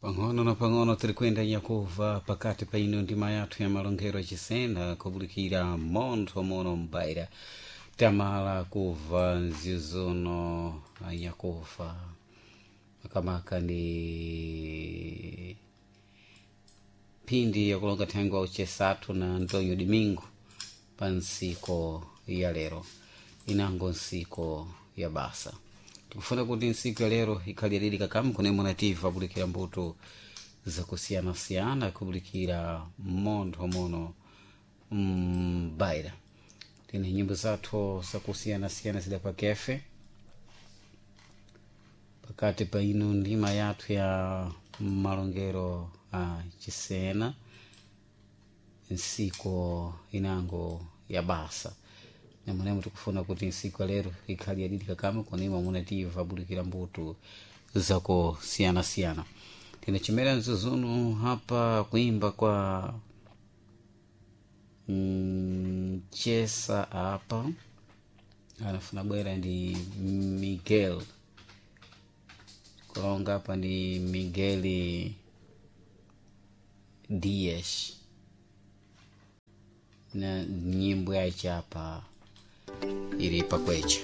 Pang'ono na pang'ono tiri kuyenda nyakuva pakati pa ino ndima yathu ya malongero achisena kubulikira montho mono mbaira tamala kuva nzizuno anyakufa makamaka ni phindi yakulonga thengo auchesathu na Antonio Domingo pa ntsiko ya lero inango ntsiko ya basa. Tikufuna kuti ntsiku ya lero ikhalirire kakamu kunemwe nativa kubulikira mbuto zakusiyanasiyana kubulikira montho mono mbaira. Tine nyimbo zathu zakusiyanasiyana zida pakefe pakati pa ino ndima yathu ya malongero a chisena ntsiko inango ya basa. Namwenemo tikufuna kuti ntsiku ya lero ikhale yadidi kakama konema munativa bulikira mbuto zakusiyanasiyana. Tinachimera mzuzunu hapa kuimba kwa mchesa apa anafuna bwera ndi Miguel kulonga apa ndi Miguel Dias na nyimbo yache apa ili pakwecha.